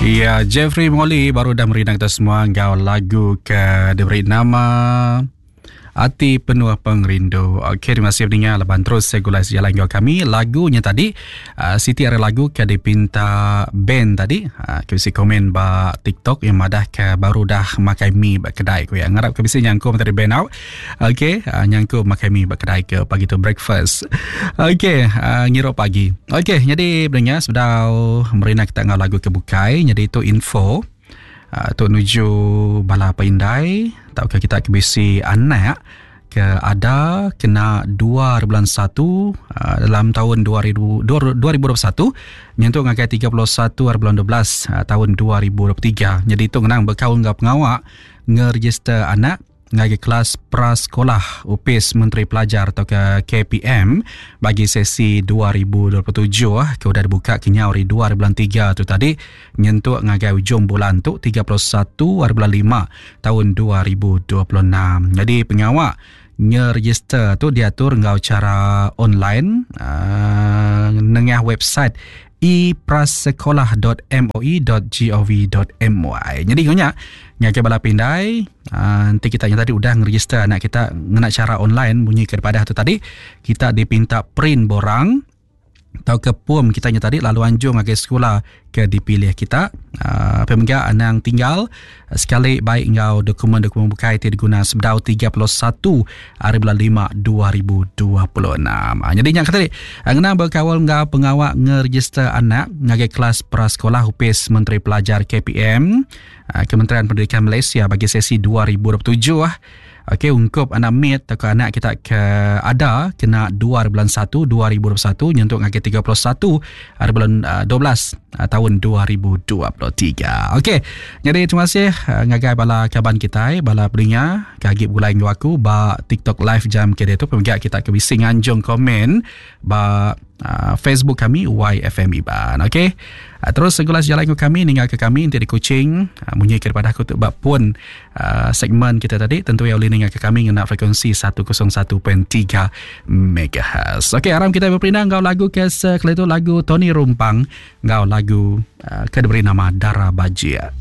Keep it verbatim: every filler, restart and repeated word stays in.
Ya, Jeffrey Molly baru dah merindang kita semua enggau lagu ke diberi nama Ati Penuh Pengerindu. Okey, terima kasih pendengar laban terus segulai sejalan enggau kami. Lagunya tadi, uh, siti ari lagu ke dipinta band tadi. Uh, ke bisi komen ba TikTok yang madah ke baru dah makai mi ba kedai ku ya. Ngarap ke bisi nyangkum tadi band out. Okey, uh, nyangkum makai mi ba kedai ke pagi tu breakfast. Okey, uh, ngirup pagi. Okey, jadi pendengar sebedau merina kita enggau lagu ke bukai, jadi itu info. Uh, tu nuju bala pindai tauka kita ke bisi anak ke ada kena dua bulan satu uh, dalam tahun dua ribu dua puluh satu nyentuk ngagai tiga puluh satu bulan dua belas uh, tahun dua ribu dua puluh tiga. Jadi tu ngenang bekaul enggau pengawa ngeregister anak ngagai kelas prasekolah Upis Menteri Pelajar atau ke K P M bagi sesi dua ribu dua puluh tujuh ke udah dibuka kenyau hari dua bulan tiga tu tadi nyentuk ngagai ujung bulan tu tiga puluh satu bulan lima tahun dua ribu dua puluh enam. Jadi pengawak ngeregister tu diatur enggau cara online uh, nengah website e prasekolah dot m o e dot g o v dot m y. Jadi ngonya ngagai bala pindai uh, nanti kita yang tadi udah ngeregister anak kita ngena cara online bunyi kepada tu tadi kita dipinta print borang atau ke pom kita nya tadi lalu anjung ngagai sekolah ke dipilih kita. Uh, pemega anang tinggal sekali baik enggau dokumen-dokumen bukai ti diguna sebedau tiga puluh satu hari bulan lima dua ribu dua puluh enam. Uh, jadi nya kata tadi ngena berkawal enggau pengawak ngeregister anak ngagai kelas prasekolah Upis Menteri Pelajar K P M uh, Kementerian Pendidikan Malaysia bagi sesi dua ribu dua puluh tujuh. Okey, ungkup anak mid atau anak kita ke ada kena dua bulan satu dua ribu dua puluh satu nyentuk ngagai tiga puluh satu hari bulan uh, dua belas uh, tahun dua ribu dua puluh tiga. Okey, jadi terima kasih uh, ngagai bala kaban kita, bala pelinga kagi bulai ngau aku ba TikTok live jam ke dia tu pemegak kita ke bisi nganjung komen ba uh, Facebook kami Y F M Iban. Okey. Uh, terus segulas jalan ke kami ninggal ke kami nanti di Kuching uh, munyi kepada aku tu bab pun uh, segmen kita tadi tentu yang boleh ninggal ke kami ngena frekuensi seratus satu perpuluhan tiga megahertz. Okey, aram kita berpindah ngau lagu ke sekali tu lagu Tony Rumpang ngau lagu uh, ke diberi nama Dara Bajia.